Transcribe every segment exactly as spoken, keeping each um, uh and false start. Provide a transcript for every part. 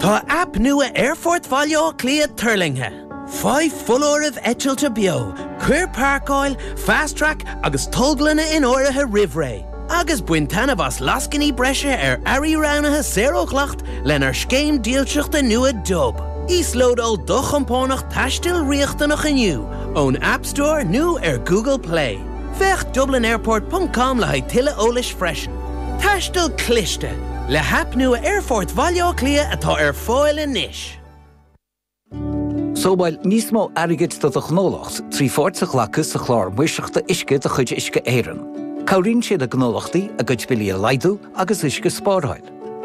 Tá aip nua Aerfort Bhaile Átha Cliath tuirlingthe. Faigh foláirimh eitilte beo, cuir páirceáil, fast track agus tolglanna in áirithe roimh ré. Agus bain taitneamh as lascainí breise ar earraí roghnaithe saor ó dhleacht lenár scéim dílseachta nua Dub. Íoslódáil do chompánach taistil riachtanach inniu ón App Store nó ar Google Play. Féach Dublin Airport ponc com le haghaidh tuilleadh eolais freisin. Taisteal cliste le haip nua Aerfort Bhaile Átha Cliath atá ar fáil anois. Sábháil níos mó airgid do do ghnólacht trí pháirt a ghlacadh sa chlár maoirseachta uisce de chuid Uisce Éireann. Cabhraíonn sé le gnólachtaí a gcuid billí a laghdú agus uisce a spáráil.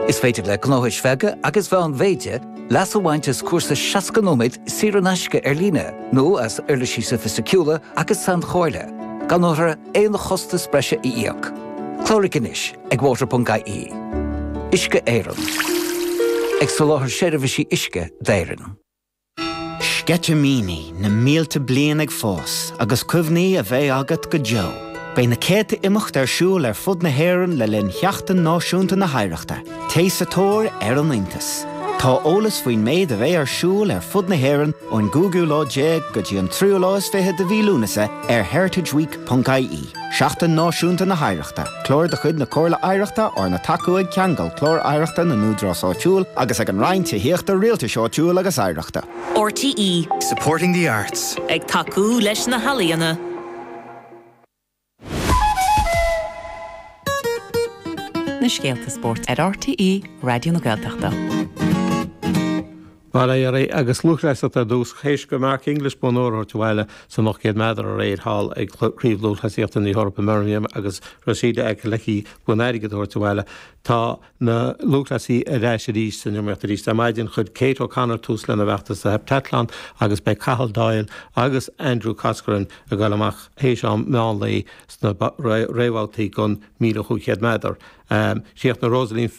Is féidir le gnóthais bheaga agus mheánmhéide leas a bhaint as cúrsa seasca nóiméad saor in aisce ar líne nó as uirlisí sofaisticiúla agus sainchomhairle, gan orthu aon chostas breise a íoc. Cláraigh anois ag water ponc I E. Uisce Éireann. Ag soláthar seirbhísí uisce d'Éirinn. Sceitimíní na mílte bliain ag fás agus cuimhní a bheidh agat go deo. Beidh na céadta imeacht ar siúl ar fud na hÉireann le linn Sheachtain Náisiúnta na hOidhreachta, Téigh sa tóir ar an iontas. Tá eolas faoin méid a bheidh ar siúl ar fud na hÉireann ón gcúigiú lá déag go dtí an tríú lá is fiche de mhí Lúnasa ar heritageweek ponc I E. Seachtain Náisiúnta na hOidhreachta, Clár de chuid na Comhairle Oidhreachta arna thacú ag Ceangal Clár Oidhreachta na nÚdarás Áitiúil agus ag an Roinn Tithíochta Rialtais Áitiúil agus Oidhreachta. R T E Supporting the arts. Ag tacú leis na healaíona. Na scéalta spóirt ar R T E Raidió na Gaeltachta. Mar é agus lúthchleasaíocht ar dtús théis do Mark English bonn óir a thabhairt abhaile san ocht gcéad méadar aréir thall ag Craobh Lúthchleasaíochta na hEorpa Birmingham agus Rhasidat Adeleke bonn airgid a thabhairt abhaile. Tá na lúthchleasaithe ar ais arís san iomaíocht arís ar maidin. Chuir Kate O'Connor tús lena bhfeachtas sa heptathlon agus beidh Cathal Doyle agus Andrew Coscoran ag dul amach théis am meán lae sna réamhbhabhtaí don míle cúig chéad méadar. Um, Chríochnaigh Rosaleen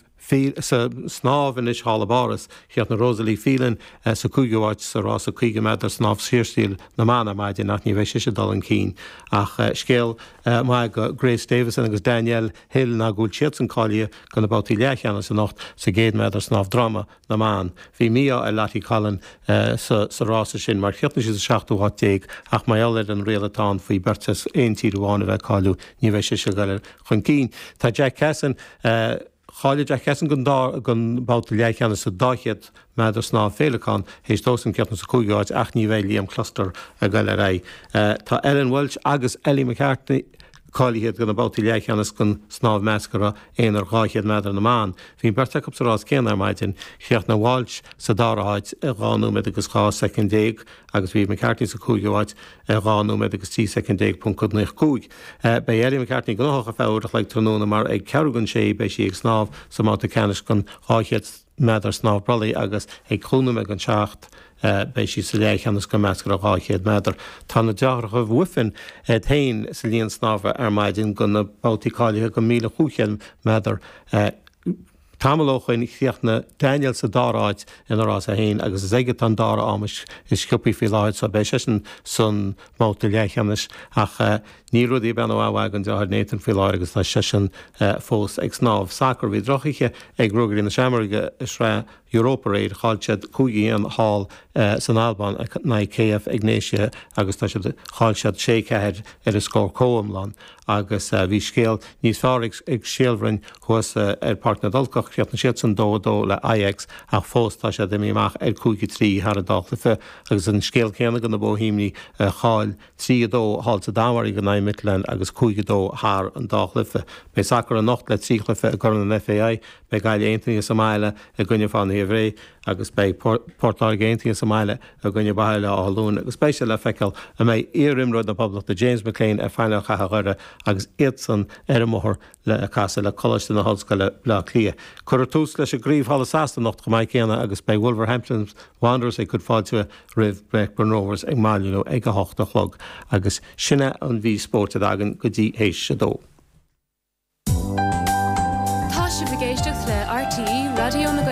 sa snámh anois thall i bPáras, chríochnaigh Rosalie Phelan uh, sa cúigiú háit sa rása caoga méadar snámh saorstíl na mban ar maidin, ach ní bheidh sise ag dul chun cinn ach uh, scéal uh, maith do Grace Davison agus Danielle Hill ná go bhfuil siadsan cáilithe do na babhtaí leathcheannais anocht sa gcéad méadar snámh droma na mban. Bhí mí-ádh ar Lottie Collin uh, sa, sa rása sin mar chríochnaigh sí sa seachtú háit déag, ach mar gheall ar an riail atá ann faoi beirt as aon tír amháin a bheith cáilithe, ní bheidh sise ag dul chun cinn. Tá Jack Cassin uh, Cháiligh Jack Cassin don don bhabhta leathcheannais sa dá chéad méadar snámh féileacáin théis dósan críochnú sa cúigiú háit, ach ní bheidh Liam Cluster ag dul ar aghaidh. Uh, tá Ellen Walsh agus Ellie McCartney cáilithe do na babhtaí leathcheannais don snámh measctha aonair dhá chéad méadar na mban. Bhí beirt acu sa rás céanna ar maidin, chríochnaigh Walsh sa dara háit i dhá nóiméad agus dhá soicind déag agus bhí McCartney sa cúigiú háit i dhá nóiméad agus trí soicind déag ponc naoi cúig. Beidh Ellie McCartney gnóthach ar feadh uair an chloig tráthnóna mar ag ceathrú don sé beidh sí ag snámh sa mbabhta ceannais don dhá chéad méadar snámh brollaigh agus ag cúig nóiméad don seacht beidh sí sa leathcheannais don measctha dhá chéad méadar. Tá na deartháireacha Wiffen féin sa líon snámha ar maidin do na babhtaí cáilithe don míle cúig chéad méadar. Tamall ó shin chríochnaigh Daniel sa dara háit ina rás féin agus is aige an dara am is sciobtha faoi láthair, so beidh seisean san mbabhta leathcheannais, ach uh, níl rudaí ag breathnú an-mhaith don deartháir Nathan faoi láthair agus tá seisean uh, fós ag snámh. Sacar, bhí drochoíche ag Ruagairí na Seamróige i Sraith Europa aréir, chaill siad cúig aon thall uh, san Albáin in aghaidh K F Egnatia agus tá siad chaill siad sé ceathair ar an scór comhiomlán agus uh, bhí scéal níos fearr ag, ag Béal Bhroin thuas uh, ar Páirc na dTulcach. Chríochnaigh siad san dó dó le Ajax ach fós tá siad imithe amach ar cúig trí thar an dá chluiche agus an scéal céanna do na Boihéimigh, uh, chaill trí a dó thall sa Danmhairg in aghaidh Midtjylland agus cúig dó thar an dá chluiche. Beidh sacar anocht le trí chluiche i gCorn an F A I, beidh Gaillimh Aontaithe sa mbaile i gcoinne Fánaithe Bhré agus beidh Port Láirge Aontaithe sa mbaile i gcoinne Baile Átha Luain agus beidh sé le feiceáil an mbeidh iarimreoir na Poblachta James McLean ar phainéal Chathair Dhoire agus iadsan ar an mbóthar le casadh le Coláiste na hOllscoile Bleá Cliath. Cuirfear tús leis an gcraobh thall i Sasana anocht chomh maith céanna agus beidh Wolverhampton Wanderers ag cur fáilte roimh Blackburn Rovers ag Molineux ag a hocht a chlog agus sin é an mhír spóirt atá againn go dtí théis a dó. Tá sibh ag éisteacht le R T E Raidió na